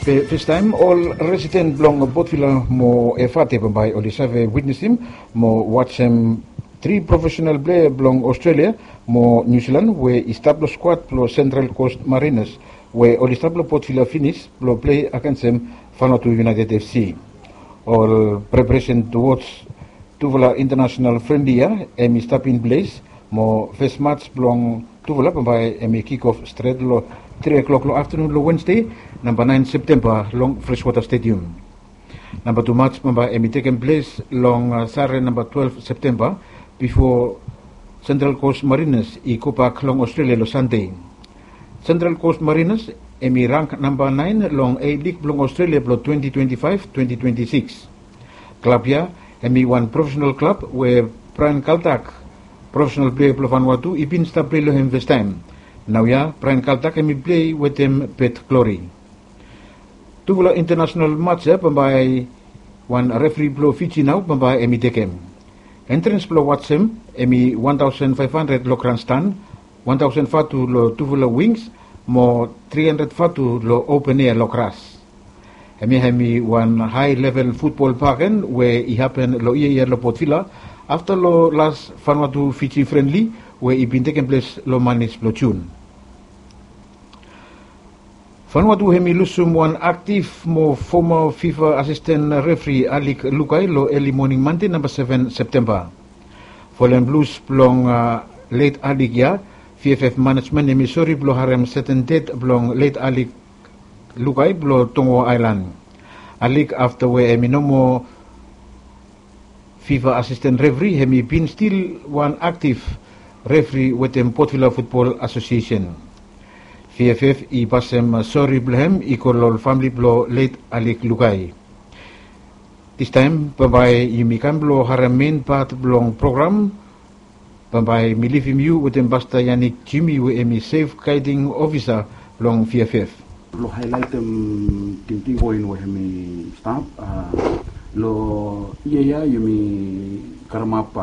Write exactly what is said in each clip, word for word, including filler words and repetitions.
Festaem ol residen blong Potvila mo Efate bambae oli save witnesim mo wajem tri profesenal plea blong Aostralia mo Niu Silan we i stap long skuad blong Sentral Kos Marinas we oli stap long Potvila finis blong plei agensem Vanuatu United FC. Ol preparesen tuwods tufala intanasenal frenli ya hem i stap in ples mo fes mats blong tufala bambae hem i kik of stret long tri klok long aftenun long Wensde, namba naen Septemba long Freswota Stedium. Namba tu mats bambae hem i tekem ples long sare namba twelef Septemba bifo Sentral Kos Marinas i gobak long Aostralia long Sande. Sentral Kos Marinas hem i rang namba naen long A Lig blong Aostralia blong twenti twenti faef twenti twenti sikis. Klab ya hem i wan profesenal klab we Braen Kaltak, profesenal plea blong Vanuatu, i bin stap plei long hem festaem. Naoia Braen Kaltak hem i plei wetem Bet Glori. Tufala intanasenal mats ya bambae wan refri blong Fiji nao bambae hem i tekem. Entrens blong wajem hem i wan taosen faef handred long granstan, wan taosen vatu long tufala wings mo tri handred vatu long open ea long gras. Hemia hem i wan hae level futbol bagen we i hapen long yia ya long Potvila afta long las Vanuatu Fiji frenli we i bin tekem ples long manis blong Jun. Vanuatu hem i lusum wan aktif mo foma FIFA asisten refri Alik Lukai long eli moning Mande namba seven Septemba. Folem lus blong let Alik ya, VFF manejmen hem i sori blong harem seten ded blong let Alik Lukai blong Tongo Aelan. Alik afta we hem i no moa FIFA asisten refri hem i bin stil wan aktif refri wetem Potvila Futbol Asosiesen. VFF i pasem sori blong hem i go long ol famle blong let Alik Lukai. Distaem bambae yumi kam blong harem men pat blong program. Bambae mi livim yu wetem Pasta Yanik Jimi we hem i sef gaeding ofisa blong VFF. Blong haelaetem tingting poen we hem i stap long yia ya yumi karemap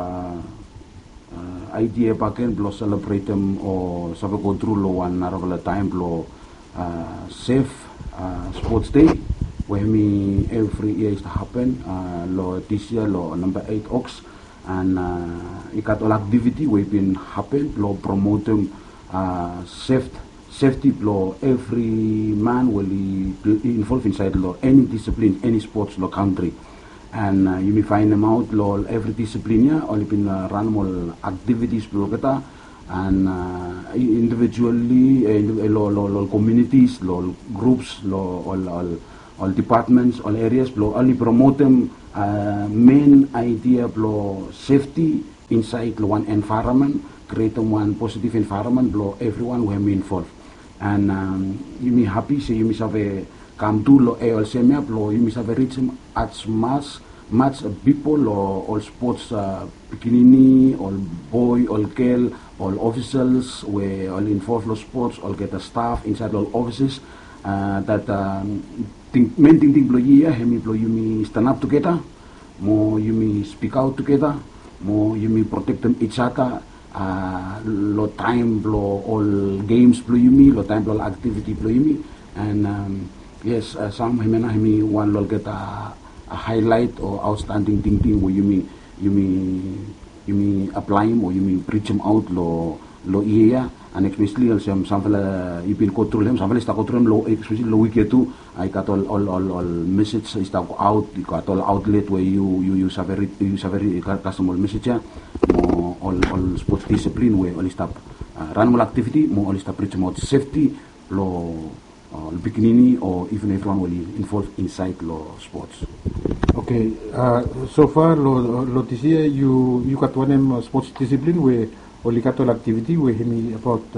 aidia baken blong selebretem o save gotru long wan narafala taem blong sef spots dei we hem i evri yia i stap hapen long dis yia long namba eit Oks. And i gat ol aktiviti we i bin hapen blong promotem sef sefti blong evri man we oli involv insaed long eni disiplin, eni spots long kantri. And yumi faenemaot long ol evri disiplin ya oli bin ranem ol aktivitis blong olgeta and indivijuali long ol komiunitis, long ol grups, long ol dipatmens, ol erias blong oli promotem men aidia blong sefti insaed long wan envaeramen, krietem wan positiv envaeramen blong evriwan we hem i involv. And yumi hapi se yumi save kam tu long e olsem ya blong yumi save rijim as mas mas pipol long ol spots pikinini, ol boe, ol gel, ol ofisals we oli involv long spots, olgeta staf insaed long ol ofises. Dat men tingting blong yia ya hem i blong yumi stanap tugeta mo yumi spikaot tugeta mo yumi protektem ijada long taem blong ol gems blong yumi, long taem blong ol aktiviti blong yumi. And yes, sam hemia nao hem i wan long olgeta haelaet o aotstanding tingting we yumi yumi yumi aplaem o yumi prijemaot long long yia ya. And espeseli olsem samfala i bin gotru long hem, samfala i stap gotru long hem, espeseli long wik ya tu i gat ol ol ol mesej i stap goaot, i gat ol aotlet we yu yu yu save rid, yu save rid, i gat kasem ol mesej ya mo ol ol spots disiplin we oli stap ranem ol aktiviti mo oli stap prijemaot sefti blong ol pikinini o iven evriwan we oli involv insaed long spots. Oke. Sofa long long dis yia yu yu gat wanem spots disiplin we oli gat ol aktiviti we hem i abaot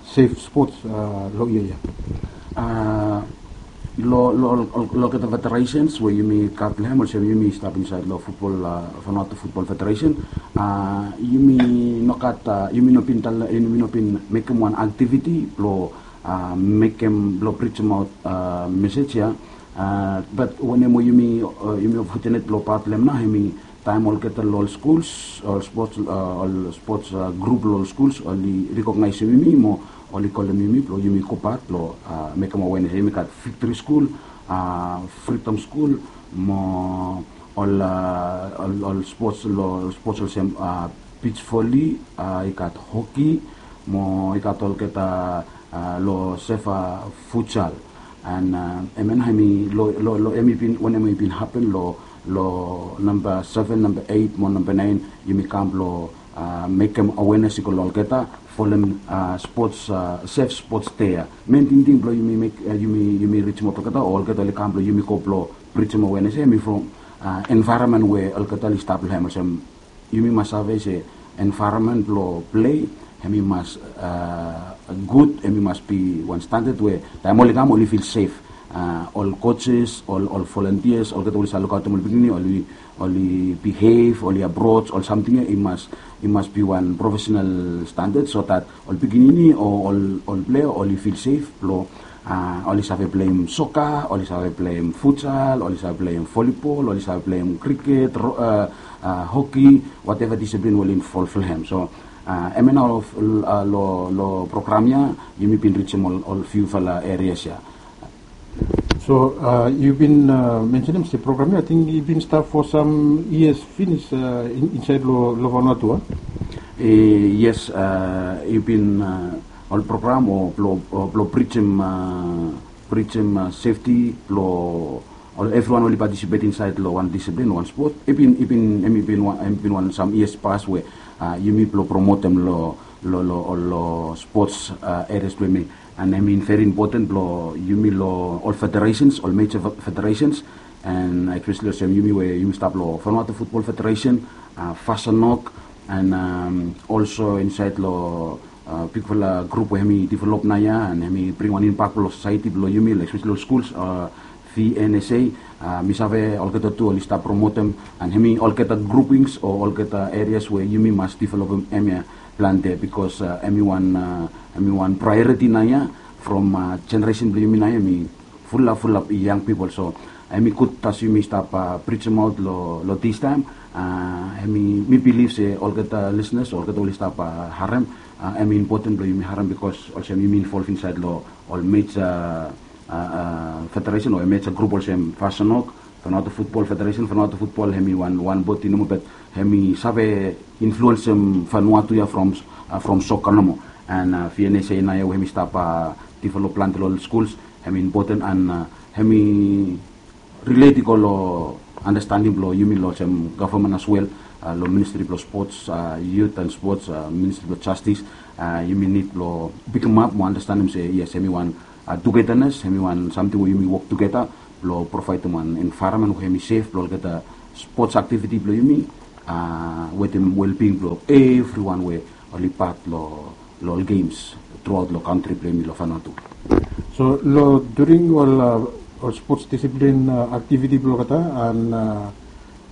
sef spots long yia ya? Long long long olgeta federesens we yumi gat long hem olsem yumi stap insaed long futbol, Vanuatu Futbol Federesen, yumi no gat, yumi no bin talem, yumi no bin mekem wan aktiviti blong mekem blong prijemaot mesej ya. Bat wanem we yumi yumi fotenet blong pat long hem nao hem i taem olgeta long ol skuls, ol spots, ol spots grup long ol skuls oli rekognaesem yumi mo oli kolem yumi blong yumi gobat blong mekem awenes. Yumi gat Viktri Skul, Freedom School, mo ol, ol sports, lo sports olsem beach volley, i gat hockey, mo i gat olgeta lo sefa futsal. And hemia nao hemi lo, lo, lo hemi bin, wanem hemi bin hapen lo, lo namba seven, namba eight mo namba nine, yumi kam blo mekem awareness i go lo olgeta folem sports, safe sports day ya. Main tingting blo yumi mek, yumi, yumi rijim olgeta, o olgeta oli kam blo yumi go blo rijim awareness ya, hemi from environment we olgeta oli stap lo hem olsem, yumi mas save se environment blo play hemi mas gud, hemi mas bi wan standard we taem oli kam oli feel safe. Ol coaches, ol, ol volunteers, olgeta oli save lukaotem ol pikinini, oli, oli behave, oli approach ol samting ya i mas, i mas bi wan professional standard so that ol pikinini o ol, ol player oli feel safe blo oli save pleim soccer, oli save pleim futsal, oli save pleim volleyball, oli save pleim cricket, hockey, whatever discipline we oli involve lo hem. So hemia nao lo, lo program ya yumi bin rijim ol, ol few fala areas ya. So yu bin mensenem se program ya, ating i bin stap for some years finis insaed lo, lo Vanuatu, a? Yes, i bin ol program o blo, blo rijim, rijim safety blo ol, evriwan oli participate insaed lo wan discipline, wan sport. I bin, i bin, hemi bin wan, hemi bin wan some years past we yumi blo promotem lo, lo, lo, lo sports areas blo yumi. And hemi very important blo yumi lo ol federations, ol major federations, and especially olsem yumi we yumi stap lo Vanuatu Football Federation, FASANOC, and also insaed lo bigfala grup we hemi develop naoia, and hemi bring wan impact lo society blo yumi, like especially ol schools, V N S A. Mi save olgeta tu oli stap promotem, and hemi olgeta groupings o olgeta areas we yumi mas developem hemia plante, because hemi wan, hemi wan priority naoia from generation blo yumi naoia, hemi fulap, fulap young people. So hemi gud as yumi stap rijim aot lo, lo this time. Hemi, mi bilif se olgeta listeners, olgeta oli stap harem, hemi important blo yumi harem, because olsem yumi involve insaed lo ol major federation o major grup olsem FASANOC, Vanuatu Football Federation. Vanuatu Football hemi wan, wan bodi nomo, but hemi save influensem Vanuatu ya from, from soccer nomo. And V N S A naoia we hemi stap develop plante lo ol schools, hemi important, and hemi relate i go lo understanding blo yumi lo olsem government as well, lo Ministry blo Sports, Youth and Sports, Ministry blo Justice. Yumi nid blo pikimap mo understandem se yes, hemi wan togetherness, hemi wan samting we yumi wok tugeta blo provaedem wan environment we hemi safe blo olgeta sports activity blo yumi, wetem well-being blo evriwan we oli pat lo, lo ol games throughout lo kantri blo yumi lo Vanuatu. So lo during ol, ol sports discipline activity blo olgeta and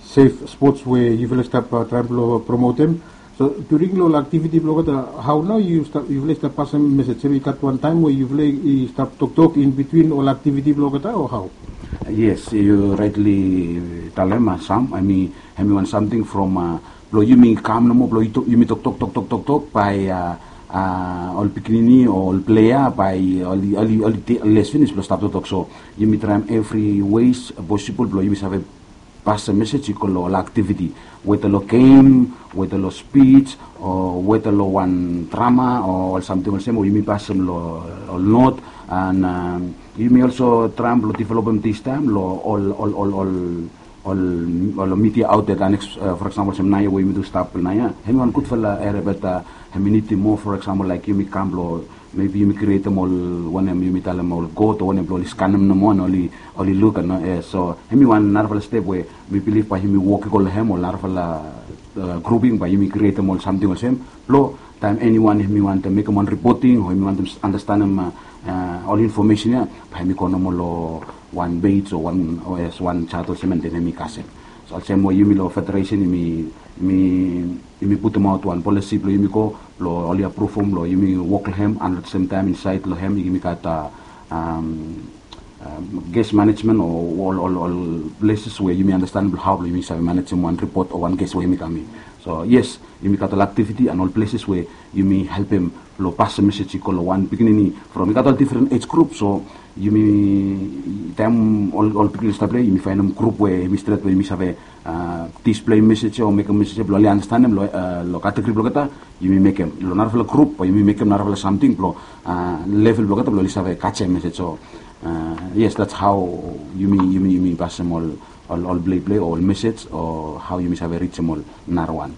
safe sports we yufala i stap traem blo promotem, so during lo ol activity blo olgeta, hao nao yu stap, yufala i stap pasem message? Hemi gat wan taem we yufala i stap toktok in between ol activity blo olgeta, o hao? Yes, yu rightly talem, Sam. Hemi, hemi wan samting from blo yumi kam nomo blo yumi toktok, toktok, toktok bae ol pikinini o ol player bae oli, oli, oli les finis blo stap toktok. So yumi traem evri ways possible blo yumi save pasem message i go lo ol activity, whether lo game, whether lo speech, o whether lo wan drama o ol samting olsem we yumi pasem lo ol note. And yumi also traem blo developem this time lo ol, ol, ol, ol, ol media outlet, and for example olsem naoia we yumi tu stap naoia, hemi wan gudfala area, but hemi nidim moa, for example like yumi kam blo maybe yumi krietem ol, wanem yumi talem, ol code o wanem blo oli skanem nomo and oli, oli luk, no? So hemi wan narafala step we mi bilif bae yumi wok i go lo hem, ol narafala grouping bae yumi krietem ol samting olsem blo taem eniwan hemi wantem mekem wan reporting o hemi wantem andastanem ol infomesen ya, bae hemi go nomo lo wan page o wan, o as wan chat olsem, and then hemi kasem. So olsem we yumi lo federation yumi, yumi, yumi putumaot wan policy blo yumi go blo oli apruvum blo yumi wok lo hem, and at the same time insaed lo hem yumi gat guest management o ol, ol, ol places we yumi andastanem blo hao blo yumi save manejem wan report o wan guest we hemi kam in. So yes, yumi gat ol aktiviti and ol places we yumi helpim long pasem mesej i go long wan pikinini from i gat ol difren ej grup. So yumi taem ol ol pikinini stap plei, yumi faenem grup we yumi stret we yumi save displei mesej o mekem mesej blong oli andastanem long kategori blong olgeta. Yumi mekem long narafala grup o yumi mekem narafala samting blong level blong olgeta blong oli save kajem mesej. So yes, that's how yumi yumi yumi pasem ol ol ol pleiplei o ol mesej o hao yumi save rijim ol narawan.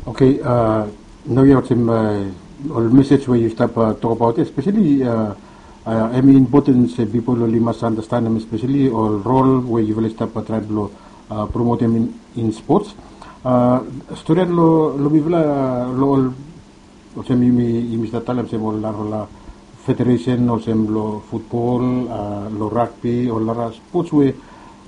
Okei, nau ya olsem ol mesej we yu stap tokabaot ya speseli em i impoten se pipol oli mas andastanem speseli ol rol we yufala i stap traem blong promotem in spots. Storian long mifala long ol olsem yumi stap talem olsem ol narafala federesen olsem long futbol, long ragbi, ol nara spots we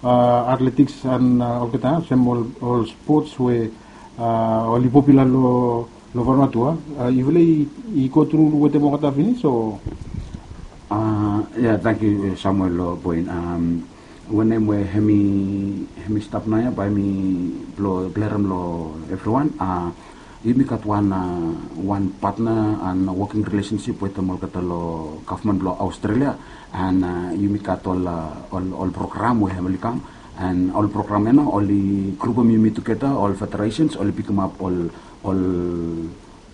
atletiks and olgeta olsem ol spots we oli popula long Vanuatu. Yufala i go tru wetem olgeta finis o? Ya, tangkiu Samuel long poen. Wanem we hemi hemi stap naoia bae mi blong klerem long evriwan. Yumi gat wan wan patna and woking rilesensip wetem olgeta long gavman blong Australia. And yumi gat ol ol program we hem oli kam. And ol program ya nao oli grupim yumi tugeta ol federations oli pikimap ol ol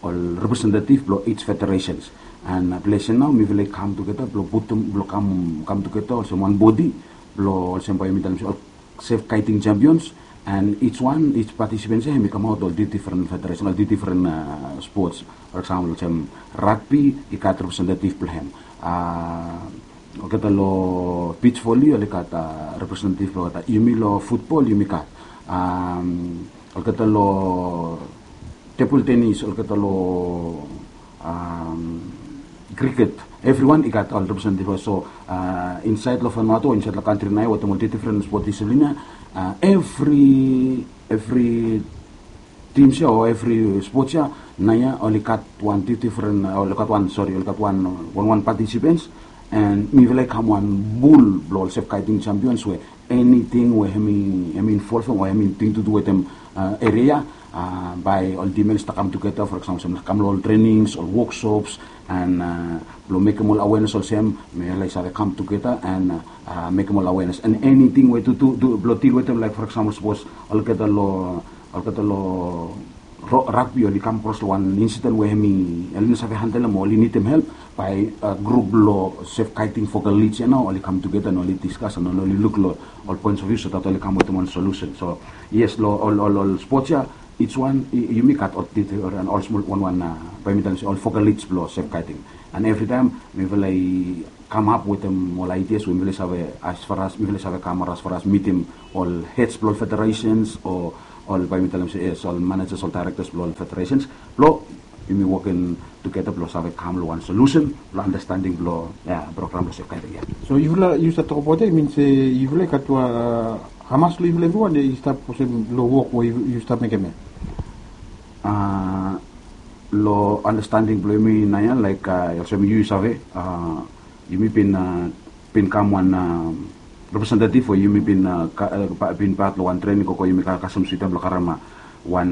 ol representative blong each federations. And ples ya nao mifala i kam tugeta blong putum blong kam kam tugeta olsem wan bodi blong olsem bae yumi talem se ol sef kaiting champions. And each one each participants ya hem i kamaot ol difren federation ol difren sports. For example olsem ragbi i gat representative blong hem. Olgeta long beach volley oli gat representative blong olgeta. Yumi long futbol yumi gat olgeta long tebol tenis olgeta long kriket. Evriwan i gat ol representative. So insaed long Vanuatu o insaed long kantri naoia wetem ol difren spot disiplin ya, evri evri tims ya o evri spots ya naoia oli gat wan difren oli gat wan sori oli gat wan wan wan patisipens. And mifala i kam wan bul blong ol sef kaiting champions we eniting we hem i involvem o hem i ting tu du wetem eria ya, bae ol dimen i stap kam tugeta for example olsem kam long ol trenings ol woksops and blong mekem ol awenes olsem mifala i save kam tugeta and mekem ol awenes and eniting we tu tu blong dil wetem laik for example sapos olgeta long olgeta long ragbi oli kam kros long wan insiden we hem i oli no save handelem o oli nidim help, bae grup blong sef kaiting fokal lij ya nao oli kam tugeta and oli diskas and oli luk long ol poens of view so dat oli kam wetem wan solusen. So yes long ol ol ol spots ya each one yumi gat ol detail and ol smol wanwan bae mi talem se ol fokal lij blong sef kaiting. And evritaem mifala i kamap wetem ol aidias we mifala i save as far as mifala i save kam as far as mitim ol heads blong ol federations o ol bae mi talem se yes ol managers ol directors blong ol federations blong yumi wokim tugeta blong save kam long wan solusen blong andastaning blong ya program blong sef kaiting ya. So yufala yu stap tokabaot ya i min se yufala i gat wan hamas long yufala evriwan i stap olsem long wok we yu stap mekem ya? Long andastaning blong yumi naoia laik olsem yu save yumi bin bin kam wan representative we yumi bin bin pat long wan trening koko yumi kasem sutem blong karem wan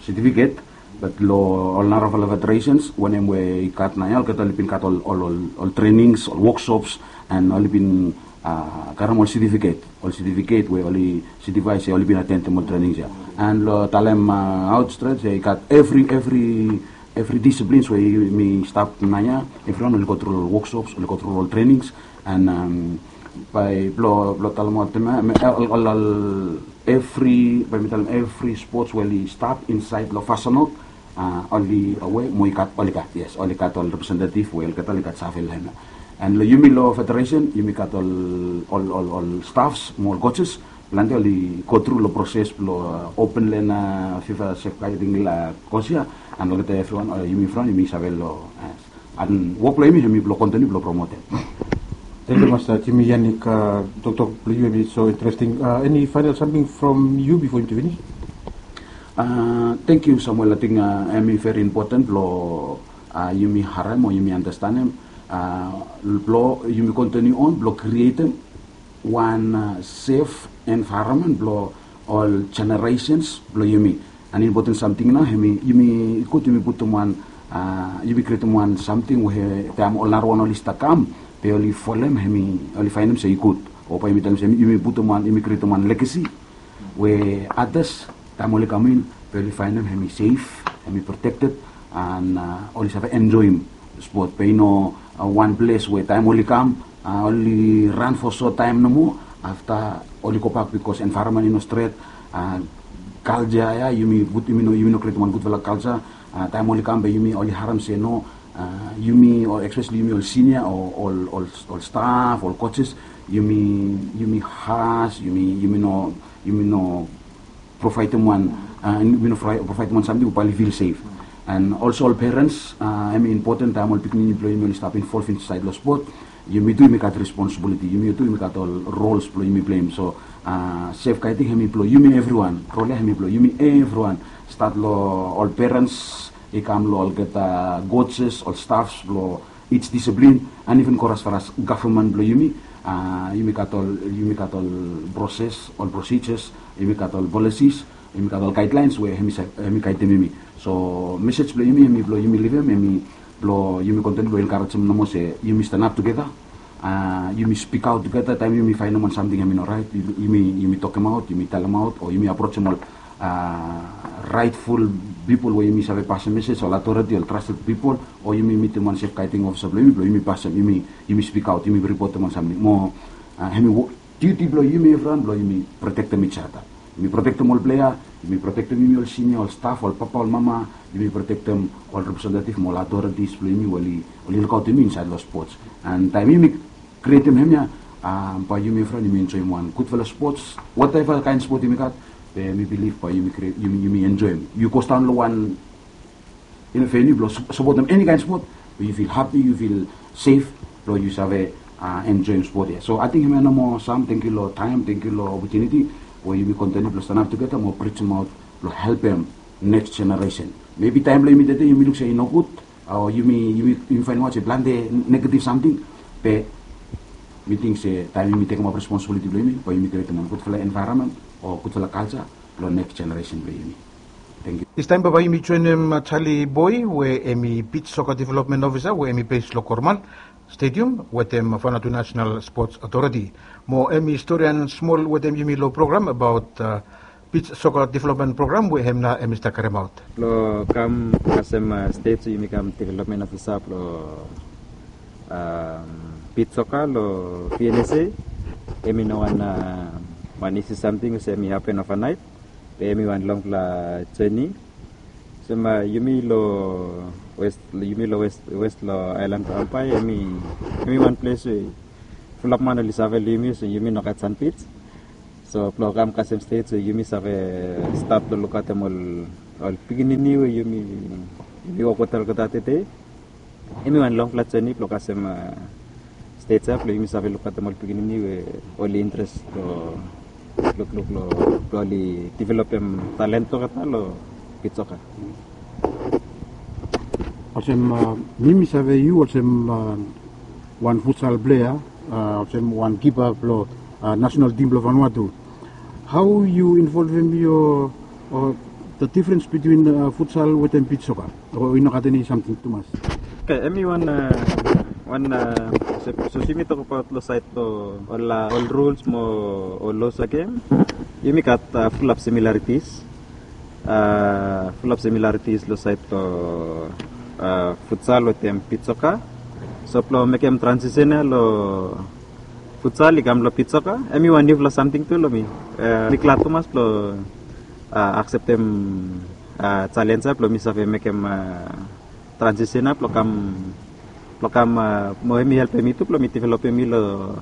setifiket. Bat long ol narafala federations wanem we i gat naoia olgeta oli bin gat ol ol ol trenings ol woksops and oli bin karem ol setifiket ol setifiket we oli setifae se oli bin atentem ol trenings ya. And long talem aot stret se i gat evri evri evri disiplins we yumi stap naoia evriwan oli go tru long ol woksops oli go tru long ol trenings. And bae blong blong talem oltem ya ol ol ol evri bae mi talem evri spots we oli stap insaed long fasanot oli awe mo i gat oli gat yes oli gat ol representative we olgeta oli gat save long hem ya. And long yumi long federation yumi gat ol ol ol ol staffs mo ol coaches plante oli go tru long proses blong open lena fifa sef kaiting kos ya. And olgeta evriwan yumi evriwan yumi save long and wok blong yumi hem i blong kontiniu blong promotem. Thank you Master Jimmy Yanik. Toktok blong yu hem i so interesting. Any final something from you before yumi finish? Thank you Samuel. I think hem i very important blong yumi harem o yumi andastanem blong yumi kontiniu on blong krietem wan sef envaeronmen blong ol generations blong yumi. An impoten samting nao, hemi, yumi, i gud yumi putum wan, a, yumi krietem wan samting we taem ol narawan oli stap kam, be oli folem, hemi, oli faenem se i gud. O bae yumi talem se yumi putum wan, yumi krietem wan legesi we atas taem oli kam in, be oli faenem hemi sef, hemi protekted, an, a, oli save enjoem spot. Be i no, a, wan ples we taem oli kam, a, oli ran fo sot taem nomo, afta oli gobak, bikos envaeronmen i no stret, a, kalja ya, yumi gud, yumi no, yumi no krietem wan gudfala kalja, a, taem oli kam be yumi oli harem se no, a, yumi, o espeseli yumi ol sinia, o ol, ol, ol staf, ol kojes, yumi, yumi has, yumi, yumi no, yumi no provaedem wan, a, yumi no provaedem wan samting we bae oli fil sef. An olso ol perens, a, hemi impoten taem ol pikinini blo yumi oli stap involv insaed lo spot, yumi tu yumi gat responsibiliti, yumi tu yumi gat ol rols blo yumi pleim. So, a, sefgading hemi blo yumi evriwan, rol ya hemi blo yumi evriwan. Stat lo ol perens, i kam lo olgeta kojes, ol stafs blo each discipline, an iven go as far as gavman blo yumi, a, yumi gat ol, yumi gat ol proses, ol procedures, yumi gat ol policies, yumi gat ol gaedlaens we hemi sa-, hemi gaedem yumi. So mesej blo yumi, hemi blo yumi livim, hemi blo yumi kontiniu blo enkarejem nomo se yumi stanap tugeta, a, yumi spikaot tugeta taem yumi faenem wan samting hemi no raet, yumi, yumi tokemaot, yumi talemaot, o yumi aprojem ol, a, raetful pipol we yumi save pasem mesej, ol atoreti, ol trasted pipol, o yumi mitim wan sefgading ofisa blo yumi, blo yumi pasem, yumi, yumi spikaot, yumi ripotem wan samting. Mo, a, hemi wo-, diuti blo yumi evriwan blo yumi protektem each other. Yumi protektem ol plea, yumi protektem yumi ol sinia, ol staf, ol papa, ol mama, yumi protektem ol representative mo ol atoreti blo yumi we oli, oli lukaotem yumi insaed lo spots. An taem yumi krietem hemia, a, bae yumi evriwan yumi enjoem wan gudfala spots, whatever kaen spot yumi gat, be mi bilif bae yumi krie-, yumi, yumi enjoem. Yu godaon lo wan, yu no, veniu blo sap-, sapotem eni kaen spot, yu fil hapi, yu fil sef, blo yu save, a, enjoem spot ya. So ating hemia nomo, Sam, tangkiu lo taem, tangkiu lo opotuniti we yumi kontiniu blo stanap tugeta mo prisemaot blo helpem neks jeneresen. Mebi taem blo yumi tede yumi luk se i nogud, o yumi, yumi, yumi faenem aot se plante negativ samting, be mi ting se taem yumi tekemaot responsibiliti blo yumi, bae yumi krietem wan gudfala envaeronmen o gudfala kalja blo neks jeneresen blo yumi. Tangkiu. Distaem bae yumi joenem, a, Charlie Boy, we hemi Beach Soccer Development Officer, we hemi base lo Coromandel Stadium wetem Vanuatu National Sports Authority. Mo hemi storian smol wetem yumi lo program abaot, a, Beach Soccer Development Program we hem nao hemi stap karemaot. Blo kam kasem, a, stet, so yumi kam development ofisa blo, a, beach soccer lo V N S A. Hemi no wan, a, wan isi samting olsem hemi hapen ovanaet. Be hemi wan longfala joni. Olsem, a, yumi lo west, yumi lo west, west lo aelan blo Hawaii, hemi, hemi wan ples we fulap man oli save lo yumi, so yumi no gat san beach. So blo kam kasem stet, so yumi save stat lo lukaotem ol, ol pikinini we yumi, yumi wok wetem olgeta tede. Hemi wan longfala joni blo kasem, a, stet ya blo yumi save lukaotem ol pikinini we oli interes lo lukluk lo, blo oli developem talent blo olgeta lo beach soccer. Olsem, a, mi, mi save yu olsem, a, wan futsal plea, a, olsem wan kipa blo, a, nasenal tim blo Vanuatu. Hao yu involvem yu, o, the difference between, a, futsal wetem beach soccer? O i no gat eni samting tumas? Oke, hemi wan, a, wan, a, sapos yumi tokbaot lo saed lo ol, a, ol ruls mo ol los blo gem, yumi gat, a, fulap similaritis. A, fulap similaritis lo saed lo, a, futsal wetem beach soccer. So blo mekem transisen ya lo futsal i kam lo beach soccer, hemi wan niufala samting tu lo mi. A, mi glad tumas blo, a, akseptem, a, jalenj ya blo mi save mekem, a, transisen ya blo kam, blo kam, a, mo hemi helpem mi tu blo mi developem mi lo,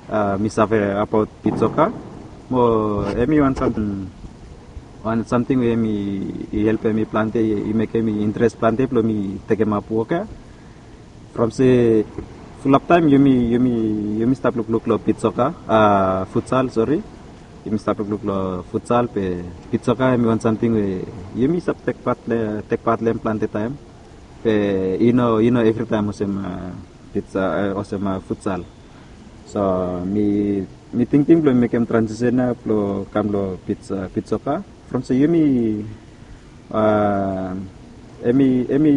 a, mi save abaot beach soccer. Mo hemi wan samting, wan samting we hemi i helpem mi plante, i mekem mi interes plante blo mi tekemap wok ya. From se fulap taem yumi, yumi, yumi stap lukluk lo beach soccer, a, futsal, sori. Yumi stap lukluk lo futsal, be beach soccer hemi wan samting we yumi stap tek pat lo, tek pat lo hem plante taem. Be i no, i no evritaem olsem, a, beach, a, olsem, a, futsal. So mi, mi tingting blo mekem transisen ya blo kam lo beach, a, beach soccer. From se yumi Ah, emi emi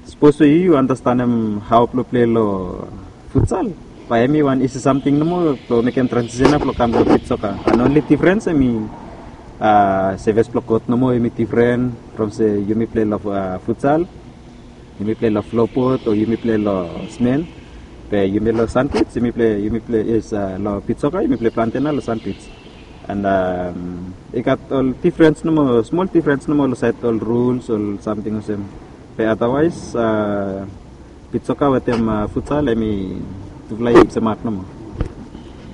sipos we yu yu anastenem hao blong pilei long futsal, bae emi wan isi samting nomo blong mekem transisen blong kam long bit soka. And onli difrens emi, ah, sevis blong kot nomo emi difren from se yumi pilei long, ah, futsal, yumi pilei long flobot o yumi pilei long smen. Be yumi long sanpij yumi pilei, yumi pilei, yes, ah, long bit soka yumi pilei plante nao long sanpij. And, um, i gat ol difrens nomo, smol difrens nomo long saed ol ruls ol samting olsem. Be otherwise, ah, bit soka wetem, ah, futsal emi tufala i semak nomo.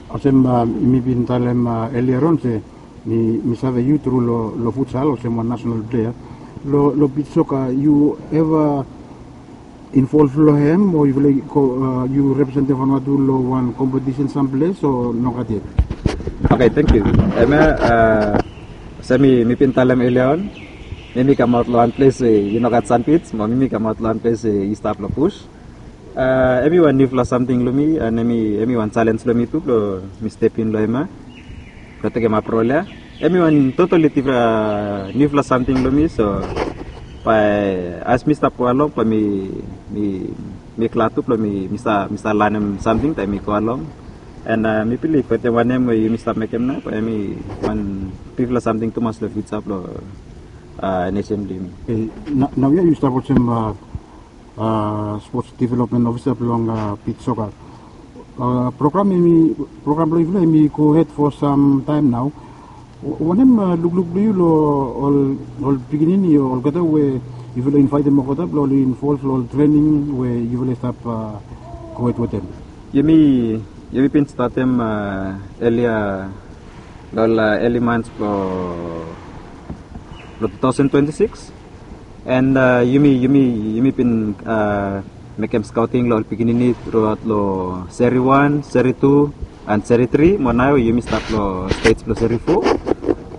Olsem, ah, mi bin talem, ah, earlier on se mi, mi save yu tru long, long futsal olsem wan nasenal plea. Long, long bit soka yu eva involv long hem o yufala i go, ah, yu representem Vanuatu long wan kompetisen samples o nogat yet? Oke, tangkiu. Hemia, ah, olsem mi, mi bin talem earlier on, mi, mi kamaot long wan ples we i nogat sanpij, mo mi, mi kamaot long wan ples we i stap long bus. Ah, emi wan niufala samting long mi, and emi, emi wan jalenj long mi tu blong mi step in long hemia blong tekemap rol ya. Emi wan totali difren, ah, niufala samting long mi, so bae as mi stap go along bae mi, mi, mi glad tu blong mi, mi stap, mi stap lanem samting taem mi go along. And, ah, mi bilif wetem wanem we yumi stap mekem nao bae emi wan bigfala samting tumas long fiuja blong, ah, nesen blong yumi. Oke, nao ya yu stap olsem, ah, ah, spots developmen ofisa blong, ah, bit soka. Ah, program emi, program blong yufala emi go hed fo sam taem nao. Wa-, wanem, ah, lukluk blong yu long ol, ol pikinini o olgeta we yufala invaetem olgeta blong oli involv long ol trening we yufala i stap, ah, go hed wetem? Yumi, yumi bin statem, ah, elia long ol, ah, eli mans blong, blong two thousand twenty-six. And, ah, yumi, yumi, yumi bin, ah, mekem skaoting long ol pikinini truaot long seri wan, seri tu, and seri tri, mo nao yumi stap long stej blong seri fo.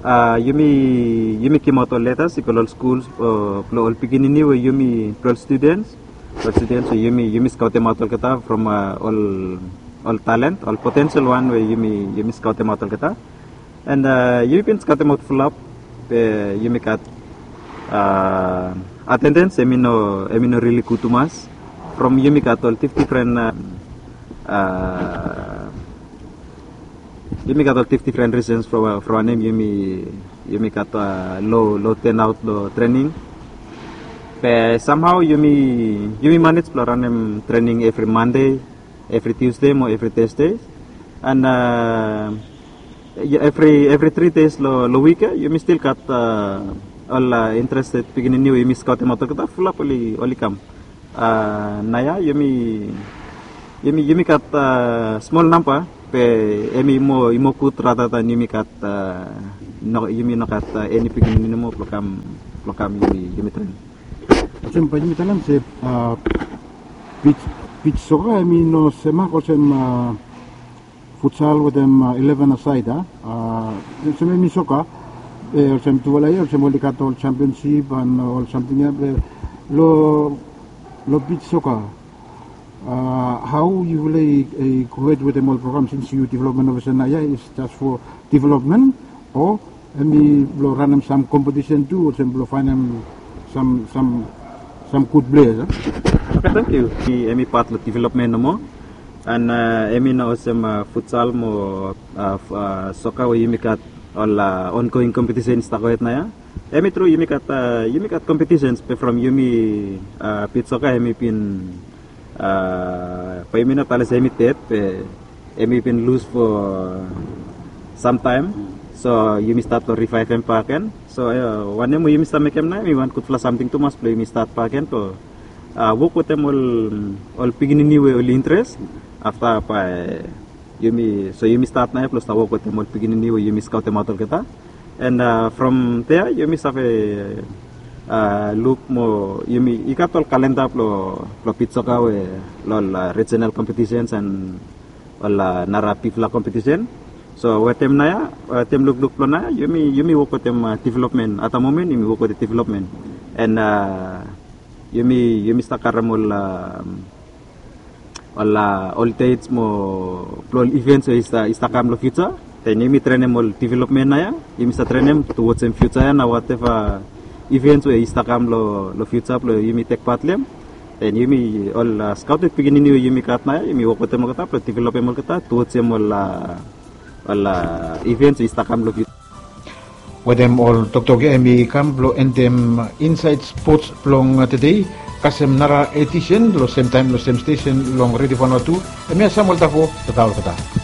Ah, yumi, yumi gimaot ol letas i go long ol skuls, ah, blong ol pikinini we yumi, blong ol studens, blong ol studens we yumi, yumi skaotemaot olgeta from, ah, ol, ol talen, ol potensel wan we yumi, yumi skaotemaot olgeta. And, ah, yumi bin skaotemaot fulap, be yumi gat, ah, atendens hemi no, hemi no rili gud tumas. From yumi gat ol dif-, difren, ah, ah, yumi gat ol dif-, difren risens from, from wanem yumi, yumi gat, ah, lo, lo turnaot long trening. Be samhao yumi, yumi manej blong ranem trening evri Mande, evri Tiusde mo evri Tasde. And, ah, evri, evri tri des long, long wik ya yumi stil gat, ah, ol, ah, interested pikinini we yumi skaotemaot olgeta fulap oli, oli kam. Ah, naoia yumi, yumi, yumi gat, ah, smol namba, be hemi moa, i moa gud rata dan yumi gat, ah, no, yumi no gat, ah, eni pikinini nomo blong kam, blong kam yumi, yumi trenem. Olsem bae yumi talem se, ah, bit, bit soka hemi no semak olsem, ah, futsal wetem, ah, eleven asaed, ah? Ah, olsem hemi soka, eh, olsem tufala ya olsem oli gat ol jampionsip and ol samting ya, be long, long bit soka, ah, hao yufala i, i go hed wetem ol program sins yu developmen ofisa naoia is jas fo developmen o hemi blong ranem sam kompetisen tu olsem blong faenem sam, sam, sam gud pleas, ah? Oke, tangkiu. Hemi pat long developmen nomo. And, ah, hemi no olsem, ah, futsal mo, ah, soka we yumi gat ol, ah, ongoing kompetisen i stap gohed naoia. Hemi tru yumi gat, ah, yumi gat kompetisens be from yumi, ah, bit soka hemi bin, ah, bae yumi no talem se hemi ded be hemi bin lus fo samtaem. So yumi stat long rivaevem bakegen. So, ah, wanem we yumi stap mekem naoia hemi wan gudfala samting tumas blong yumi stat bakegen blong, ah, wok wetem ol, ol pikinini we oli interes. Afta bae yumi, so yumi stat naoia blong stap wok wetem ol pikinini we yumi skaotemaot olgeta. And, ah, from dea yumi save, ah, luk mo yumi, i gat ol kalenda blong, blong bit soka we long ol, ah, rijenal kompetisens and ol, ah, nara bigfala kompetisen. So wetem naoia, wetem lukluk blong naoia yumi, yumi wok wetem, ah, developmen. At the moment yumi wok wetem developmen. And, ah, yumi, yumi stap karem ol, ah, ol, ah, ol dets mo blong ol ivens we i stap, i stap kam long fiuja. Then yumi trenem ol development na ya, yumi sa trenem towards em future ya na whatever events we i stap kam lo, lo future blo yumi tek part lo em. Then yumi ol uh, scouted pikinini we yumi gat na ya, yumi wok wetem olgeta blo developem olgeta towards em ol uh, ol uh, events we i stap kam lo future. Wetem ol toktok ya em i kam blo endem inside sports blong tedei. Kasem nara edition lo sem taim lo sem station long Radio Vanuatu, em ya Samuel Tafo, tata olgeta.